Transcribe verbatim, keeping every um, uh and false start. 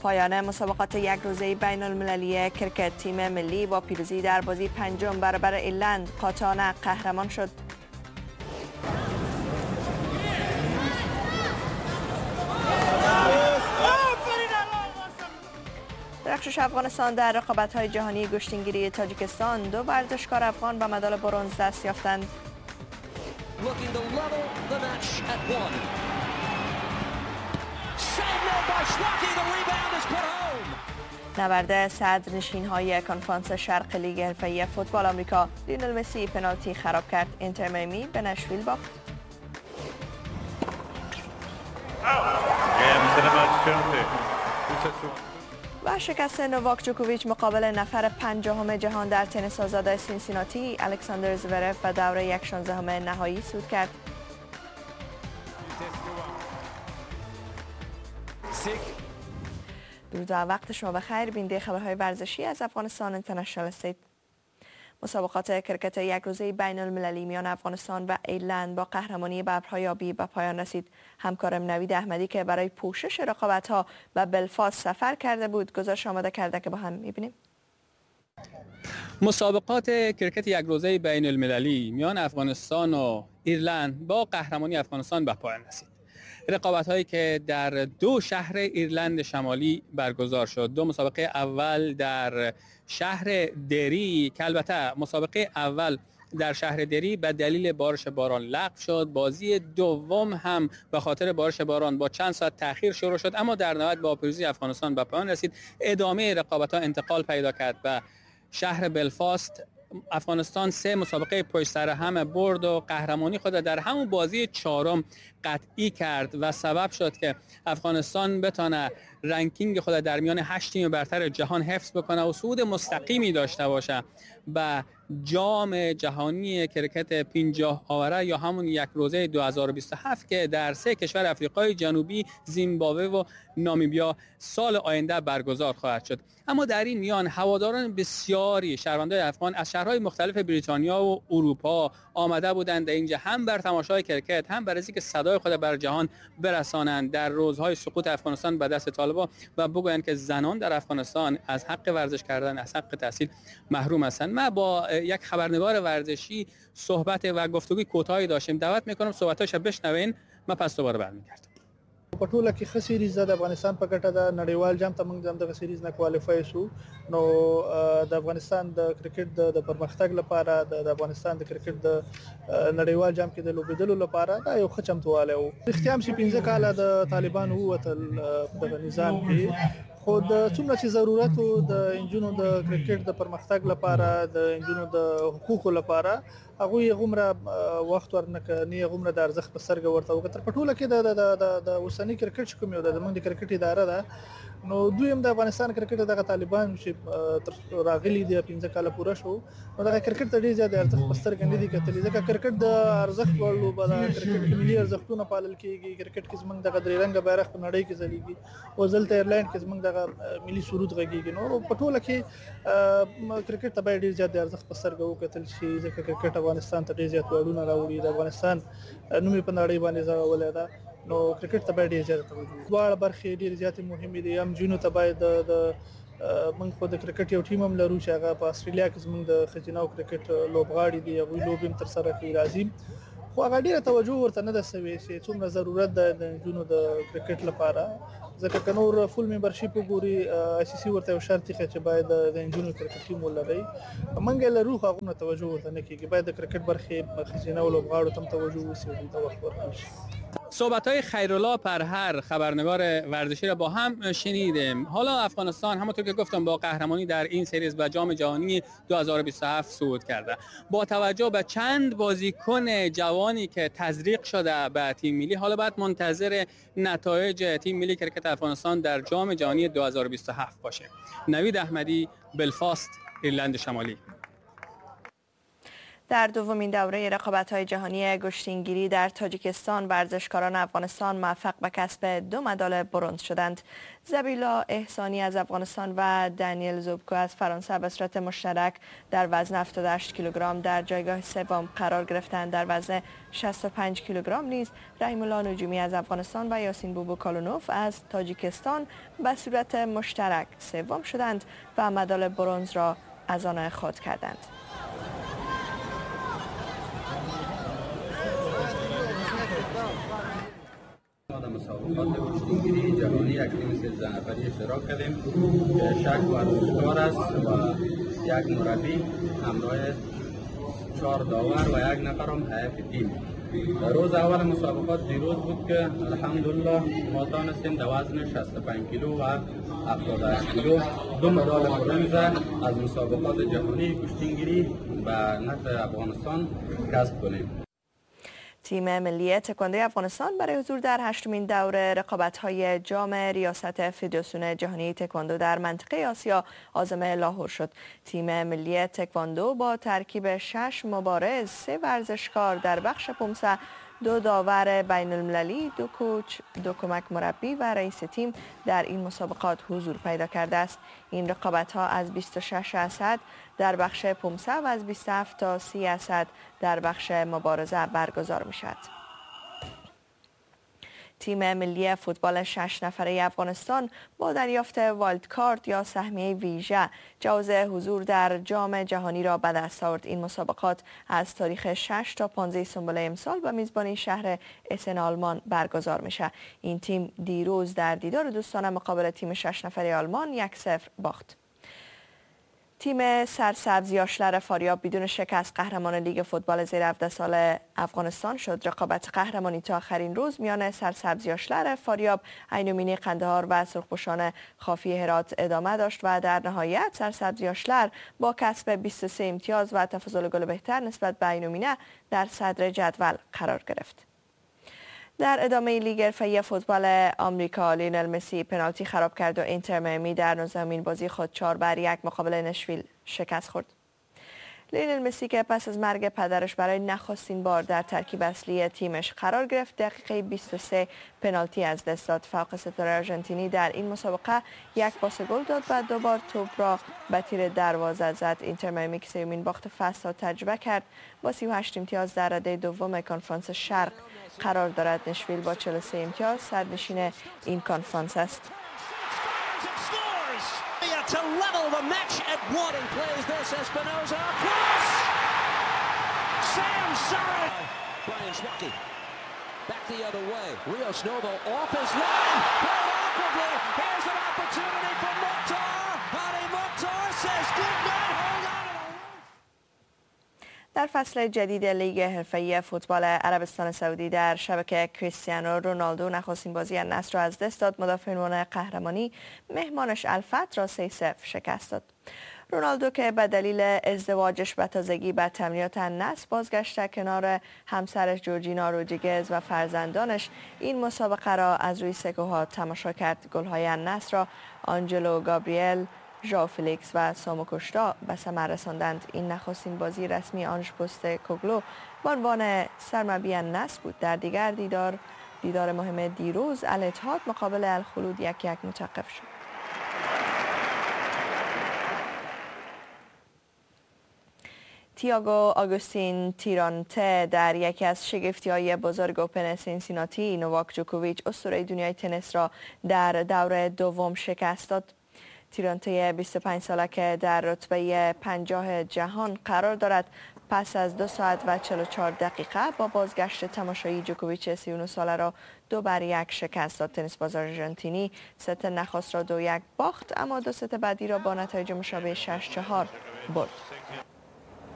پایان مسابقات یک روزه بین المللی کرکت، تیم ملی با پیروزی در بازی پنجم برابر ایرلند قاطعانه قهرمان شد. درخشش افغانستان در رقابت‌های جهانی گشتینگیری تاجیکستان، دو ورزشکار افغان به مدال برنز دست یافتند. نبرد صدرنشین‌های کنفرانس شرق لیگ حرفه‌ای فوتبال آمریکا، لیونل مسی پنالتی خراب کرد، اینتر میامی به نشویل باخت. و شکست نواک جوکوویچ مقابل نفر پنجاهم جهان در تنیس آزاد سینسیناتی، الکساندر زورف و دوره یک شانزدهم نهایی صعود کرد. درود و وقت شما بخیر. بیننده خبرهای ورزشی از افغانستان اینترنشنال هستید. مسابقات کرکت یک روزه بین المللی میان افغانستان و ایرلند با قهرمانی ببرهای آبی به پایان رسید. همکارم نوید احمدی که برای پوشش رقابت‌ها به بلفاست سفر کرده بود گزارش آماده کرده که با هم می‌بینیم. مسابقات کرکت یک روزه بین المللی میان افغانستان و ایرلند با قهرمانی افغانستان به پایان رسید. رقابت هایی که در دو شهر ایرلند شمالی برگزار شد. دو مسابقه اول در شهر دری که البته مسابقه اول در شهر دری به دلیل بارش باران لغو شد. بازی دوم هم به خاطر بارش باران با چند ساعت تأخیر شروع شد، اما در نهایت با پیروزی افغانستان به پایان رسید. ادامه رقابت ها انتقال پیدا کرد به شهر بلفاست. افغانستان سه مسابقه پشت سر هم برد و قهرمانی خود در همون بازی چهارم قطعی کرد و سبب شد که افغانستان بتانه ranking خود در میان هشت تیم برتر جهان حفظ بکنه و صعود مستقیمی داشته باشه به جام جهانی کرکت پنجاه آوره یا همون یک روزه دو هزار و بیست و هفت که در سه کشور افریقای جنوبی، زیمبابوه و نامیبیا سال آینده برگزار خواهد شد. اما در این میان هواداران بسیاری شهروندان افغان از شهرهای مختلف بریتانیا و اروپا آمده بودند در اینجا، هم بر تماشای کرکت هم برای اینکه صدای خود بر جهان برسانند در روزهای سقوط افغانستان به دست طالبان و بگویند که زنان در افغانستان از حق ورزش کردن، از حق تحصیل محروم هستند. من با یک خبرنگار ورزشی صحبت و گفتگوی کوتاهی داشتیم. دعوت میکنم صحبتاشو بشنوین. من پس دوباره برمیگردم. په ټوله کې ښه series ده د افغانستان په ګټه ده. نړیوال جام ته موږ دغه series نه qualify شو، نو د افغانستان د کرکټ د پرمختګ لپاره، د افغانستان د کرکټ د نړیوال جام کې د لوبېدلو لپاره دا یو ښه چمتووالی و. رښتیا هم چې پنځه کاله د طالبانو ووتل په دغه نظام کې، خو د څومره چې ضرورت و د انجونو د کرکټ د پرمختګ لپاره، د انجونو د حقوقو لپاره، هغوی هغومره وخت ورنکړ، نه هغومره د ارزښت په سترګه ورته وکتل. په ټوله کې د د د اوسني کرکټ چې کوم یو ده، زموږ د کرکټ اداره ده، نو دوی هم د افغانستان کرکټ دغه طالبان چې تر راغلي دي پنځه کاله پوره شو، نو دغه کرکټ ته ډېر زیات ارزښت په سترګه نه دي کتلي، ځکه کرکټ د ارزښت وړ لوبه ده. کرکټ کې ملي ارزښتونه پالل کېږي، کرکټ کې زموږ دغه درې رنګه بیرغ په نړۍ کې ځلېږي، او دلته ایرلنډ کې زموږ دغه ملي سرود غږېږي. نو په ټوله کې کرکټ ته باید ډېر زیات د ارزښت په سترګه وکتل شي، ځکه کرکټ افغانستان ته ډېر زیات ویاړونه راوړي، د افغانستان نوم یې په نړۍ باندې ځړولی ده. نو کرکټ ته باید ډېر زیات توجه وشي. دواړه برخې ډېرې زیاتې مهمې دي. هم نجونو ته باید د موږ خو د کرکټ یو ټیم هم لرو چې هغه په استرالیا کې زموږ د ښځینه کرکټ لوبغاړي دي، هغوی لوبې هم ترسره کوي راځي، خو هغه ډېره توجه ورته نه ده سوې چې څومره ضرورت ده د نجونو د کرکټ لپاره، ځکه که نور full membership وګوري آی سي سي ورته یو شرط ایښی چې باید د نجونو کرکټ ټیم ولرئ. موږ یې لرو خو هغومره توجه ورته نه کېږي. باید د کرکټ برخې ښځینه لوبغاړو ته هم توجه وشي او دوی ته وخت ورکړل شي. صحبت‌های خیرالله پرهر خبرنگار ورزشی را با هم شنیدیم. حالا افغانستان همونطور که گفتم با قهرمانی در این series و جام جهانی دو هزار و بیست و هفت صعود کرده. با توجه به چند بازیکن جوانی که تزریق شده به تیم ملی، حالا باید منتظر نتایج تیم ملی کرکت افغانستان در جام جهانی دو هزار و بیست و هفت باشه. نوید احمدی، بلفاست، ایرلند شمالی. در دومین دوره رقابت‌های جهانی گشتینگیری در تاجیکستان، ورزشکاران افغانستان موفق به کسب دو مدال برنز شدند. زبیلا احسانی از افغانستان و دانیل زوبکو از فرانسه به صورت مشترک در وزن هفتاد و هشت کیلوگرم در جایگاه سوم قرار گرفتند. در وزن شصت و پنج کیلوگرم نیز رحیم الله نجومی از افغانستان و یاسین بوبو کالونوف از تاجیکستان به صورت مشترک سوم شدند و مدال برنز را از آن خود کردند. در مسابقات کشتیگیری جهانی یک تیم سیزده نفری اشتراک کردیم که شش ورزشکار است و یک مربی همراه چهار داور و یک نفر هم هیئت تیم. در روز اول مسابقات دیروز بود که الحمدلله ما تانستیم در وزن شصت و پنج کیلو و هفتاد و هشت کیلو دو مدال برنز از مسابقات جهانی کشتیگیری به نفع افغانستان کسب کنیم. تیم ملی تکواندو افغانستان برای حضور در هشتمین دور رقابت‌های جام ریاست فدراسیون جهانی تکواندو در منطقه آسیا عازم لاهور شد. تیم ملی تکواندو با ترکیب شش مبارز، سه ورزشکار در بخش پومسه، دو داور بین المللی، دو کوچ، دو کمک مربی و رئیس تیم در این مسابقات حضور پیدا کرده است. این رقابت‌ها از بیست و شش اسد در بخش پومسه و از بیست و هفت تا سی اسد در بخش مبارزه برگزار می‌شود. تیم ملی فوتبال شش نفره افغانستان با دریافت wild card یا سهمیه ویژه جواز حضور در جام جهانی را به دست آورد. این مسابقات از تاریخ شش تا پانزده سنبله امسال به میزبانی شهر اسن آلمان برگزار میشه. این تیم دیروز در دیدار دوستانه مقابل تیم شش نفره آلمان یک صفر باخت. تیم سرسبز یاشلر فاریاب بدون شکست قهرمان لیگ فوتبال زیر هفده سال افغانستان شد. رقابت قهرمانی تا آخرین روز میان سرسبز یاشلر فاریاب، عینومینه قندهار و سرخپوشان خافی هرات ادامه داشت و در نهایت سرسبز یاشلر با کسب بیست و سه امتیاز و تفاضل گل بهتر نسبت به عینومینه در صدر جدول قرار گرفت. در ادامه لیگ حرفه‌ای فوتبال آمریکا، لیونل مسی پنالتی خراب کرد و اینتر میامی در نوزدهمین بازی خود چهار بر یک مقابل نشویل شکست خورد. لیونل مسی که پس از مرگ پدرش برای نخستین بار در ترکیب اصلی تیمش قرار گرفت، دقیقه بیست و سه پنالتی از دست داد. فوق ستاره آرژانتینی در این مسابقه یک پاس گل داد و دو بار توپ را به تیر دروازه زد. اینتر میامی که سومین باخت فصل را تجربه کرد، با سی و هشت امتیاز در رده دوم کنفرانس شرق قرار دارد. نشویل با چهل و سه امتیاز صدرنشین این کنفرانس است. To level the match at one and plays this Espinoza across. Sam Surridge. Brian Schwake back the other way. Rios Novo off his line. Played awkwardly. Here's an opportunity for Mukhtar. Hadi Mukhtar says good night. Hold on to the roof. در فصل جدید لیگ حرفه‌ای فوتبال عربستان سعودی در شبکه کریستیانو رونالدو نخستین بازی النصر را از دست داد. مدافع عنوان قهرمانی مهمانش الفتح را سه صفر شکست داد. رونالدو که به دلیل ازدواجش به تازگی به تمرینات النصر بازگشته، کنار همسرش جورجینا رودریگز و فرزندانش این مسابقه را از روی سکوها تماشا کرد. گل‌های النصر را آنجلو گابریل، ژائو فلیکس و سامو کوشتا به ثمر رساندند. این نخستین بازی رسمی آنژ پوستکوگلو به عنوان سرمربی النصر بود. در دیگر دیدار دیدار مهم دیروز الاتحاد مقابل الخلود یک یک متوقف شد. تییاگو آگوستین تیرانته در یکی از شگفتی‌های بزرگ اوپن سینسیناتی نواک جوکوویچ اسطوره دنیای تنیس را در دور دوم شکست داد. تیرانته بیست و پنج ساله که در رتبه پنجاه جهان قرار دارد، پس از دو ساعت و چهل و چهار دقیقه با بازگشت تماشایی جوکوویچ سی و نه ساله را دو بر یک شکست داد. تنیس باز آرژانتینی ست نخست را دو یک باخت، اما دو ست بعدی را با نتایج مشابه شش چهار برد.